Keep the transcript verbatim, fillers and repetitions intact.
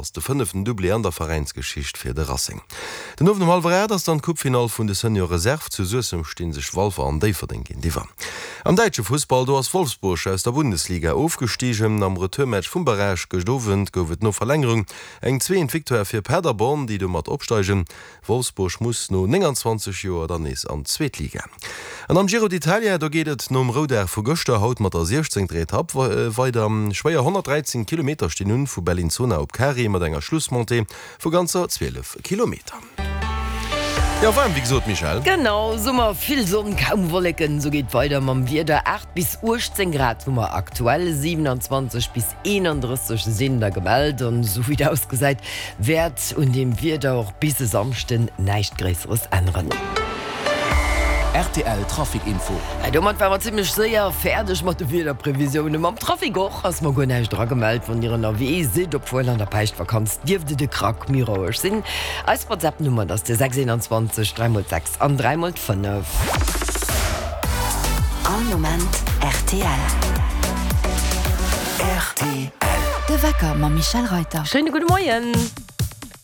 Ass de fënneften Doublé an der Veräinsgeschicht fir de Racing. Den Owend um hallwer aacht ass dann d'Coupefinall vun de Senior Reserve. Zu Suessem sti sech Walfer an Déifferdeng géintiwwer. Am däitsche Fussball, do ass Wolfsburg aus der Bundesliga ofgestigen. Am Retourmatch vum Barrage gëscht Owend gouf et no Verlängerung eng zweeent Victoire fir Paderborn, déi domat opsteigen. Wolfsburg muss no nénganzwanzeg Joer dann nees an d'zweet Liga. An am Giro d'Italia, do geet et nom Roudag vu gëschter haut mat der siechzéngter Etapp weider. Schwéier honnertdräizéng Kilometer stinn un, vu Bellinzona op Cari mat enger Schlussmontée vu ganzer zwielef Kilometer. Jo, waarm wéi gesot, Michèle. Genau, Summer, vill Sonn, kaum Wolleken, esou geet weider mam Wieder. Aacht bis uechtzéng Grad hu mer aktuell, siwenanzwanzeg bis eenandrësseg sinn der gemellt. An esou wéi et ausgesäit, wäert un deem Wieder och bis e Samschden näischt Gréisseres änneren. Rtl Trafic Info. Domat ware mer zimmlech séier fäerdeg mat de Wiederprevisiounen. Mam Trafic och ass mer guer näischt eragemellt. Wann Dir ënnerwee sidd, obwuel an der Päischtvakanz, dierft et e Krack méi roueg sinn. Eis WhatsApp-Nummer, dat ass de sechs eenanzwanzeg dräi mol d'sechs an dräi mol d'fënnef. All Moment rtl. Rtl. De Wecker mam Michèle Reyter. Schéine gudde Moien.